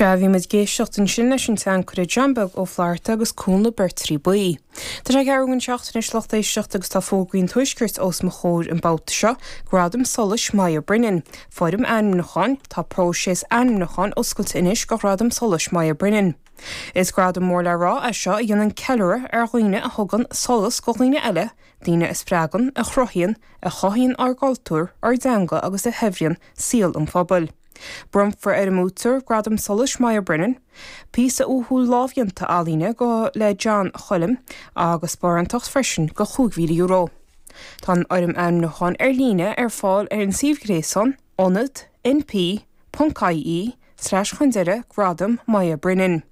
Sea, bhí muid ag éisteacht ansin leis an tseanchara John Beag Ó Flatharta agus Cúnla Beirtrí Buí. Tá sé ceathrú don seacht anois lucht éisteachta agus tá fógraí an Tuaiscirt os mo chomhair an babhta seo, Gradam Solais Moya Brennan, Foirm ainmniúcháin, Tá próiseas ainmniúcháin oscailte anois do Ghradam Solais Moya Brennan. Is gradam mór le rá é seo a dhéanann ceiliúradh ar dhaoine a thugann solas do dhaoine eile, daoine a spreagann, a chruthaíonn, a chothaíonn ár gcultúr, ár dteanga agus a shaibhríonn saol an phobail. Bronnfar ar an mbuaiteoir Gradam Solais Moya Brennan, píosa uathúil lámhdhéanta ealaíne go le John Choilm agus sparántacht freisin de €5,000. Tá an fhoirm ainmniúcháin ar líne ar fáil ar an suíomh gréasáin ionad np ponc ie slash chun deireadh Gradam Moya Brennan.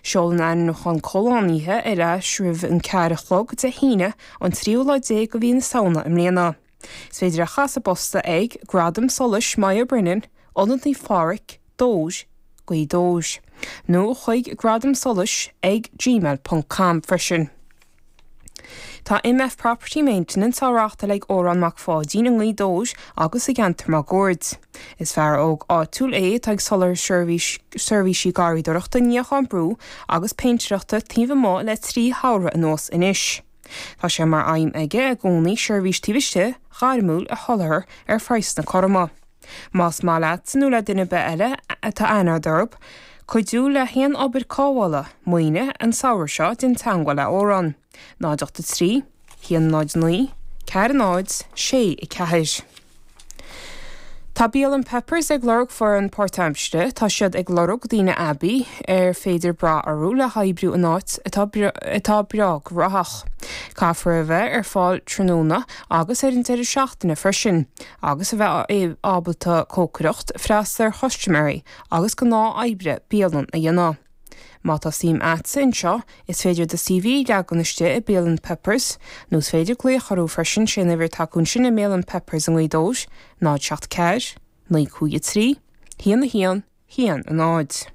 Seol an ainmniúchán comhlánaithe ar ais roimh an 4 a chlog Dé hAoine an tríú lá déag de mhí na Samhna i mbliana. Is féidir é a chur sa bpost ag Gradam Solais Moya Brennan, Ionad Naomh Phádraig, Dobhair, Gaoth Dobhair, nó chuig gradamsolais ag gmail ponc com freisin. Tá MF Property Maintenance á reáchtáil ag Órán Mac Pháidín i nGaoth Dobhair agus sa gceantar máguaird. Is fear óg áitiúil é atá ag soláthar seirbhísí garraíodóireachta, níocháin brú agus péintéireachta taobh amuigh le 3 shamhradh anuas anois. Tá sé mar aidhm aige i gcónaí seirbhís taobh istigh ghairmiúil a sholáthar ar phraghsanna cothroma. Más maith leatsa nó le duine ar bith eile atá aithne agat orthu cuidiú le haon obair cothabhála maoine an samhradh seo déan teagmháil le Órán, 0 8 3 1 0 9 4 0 6 4. Tá Bialann Peppers ag lorg foireann páirtaimsire. Tá siad ag lorg daoine aibí ar féidir brath orthu le hoibriú in áit atá atá breá graitheach. Caithfear a bheith ar fáil tráthnóna agus ar an deireadh seachtaine freisin agus a bheith ábalta cócaireacht, freastal ar chustaiméirí agus gnáth-oibre bialann a dhéanamh. Má tá suim a'dsa anseo, is féidir do CV a leagan istigh i Bialann Peppers, nó is féidir glaoch orthu freisin, sé an uimhir atá acu ansin i mBialann Peppers i nGaoth Dobhair, 0 7 4, 9 5 3, 1 1 1 0.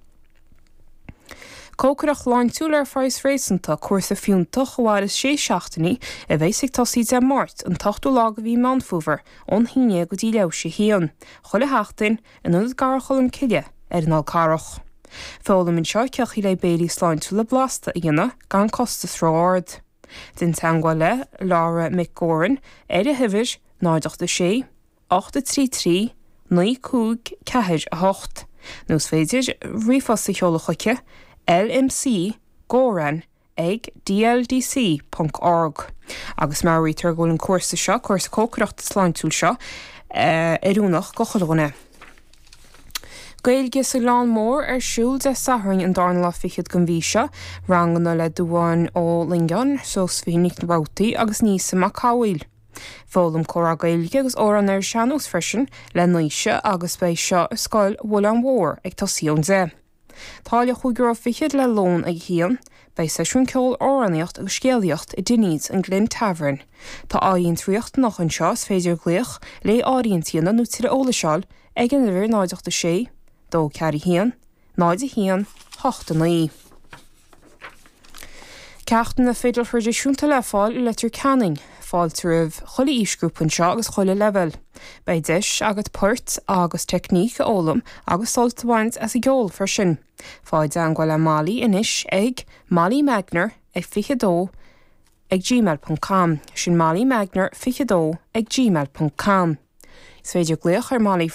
Cócaireacht shláintiúil ar phraghas réasúnta, cúrsa fiúntach a mhairfeas sé seachtainí, a bheas ag tosaí Dé Máirt, an t-ochtú lá de mhí Meán Fómhair, ón haon déag go dtí leathuair théis a haon, chuile sheachtain, in Ionad Garraí Cholm Cille ar an Fhál Carrach. Foghlaim anseo cén chaoi le béilí sláintiúla blasta a dhéanamh gan costas ró-ard. Déan teagmháil le Laura Mhic Górain ar an huimhir 0 8 6 8 3 3 9 5 4 8 nó is féidir ríomhphost a sheoladh chuici lmc goran ag dldc ponc org agus meabhraítear go bhfuil an cúrsa seo, cúrsa cócaireachta sláintiúil seo, oiriúnach go chuile dhuine. Gaeilge sa Ghleann Mór ar siúl Dé Sathairn an darna lá fichead den mhí seo. Ranganna le Dubhán Ó Loingeáin, Seosaimhín Nic Robhtaí agus Neasa Mac Cathmhaoil. Foghlaim comhrá Gaeilge agus amhráin ar an sean-nós freisin le Naoise agus beidh seo i Scoil Mhuileann Mhór ag tosaí ón 10. Táille €25 le lón ag a haon. Beidh seisiún ceoil, amhránaíocht agus scéalaíocht i Dinny's, an Glen Tavern. Tá áirithint riachtanach anseo, is féidir glaoch le áirithint a dhéanamh nó tuilleadh eolais a fháil ag an uimhir 0 8 6 2 4 1 0 1 8 9. Ceachtanna fidil thraidisiúnta le fáil i Leitir Ceanainn. Fáilte roimh chuile aoisghrúpa anseo agus chuile leibhéal. Beidh deis agat poirt agus teicníc a fhoghlaim agus sult a bhaint as an gceol freisin. Faigh i dteangmháil le Molly anois ag Molly Magner ag 22 ag gmail ponc com. Sin Molly Magner 22 ag gmail ponc com. Is féidir glaoch ar Molly.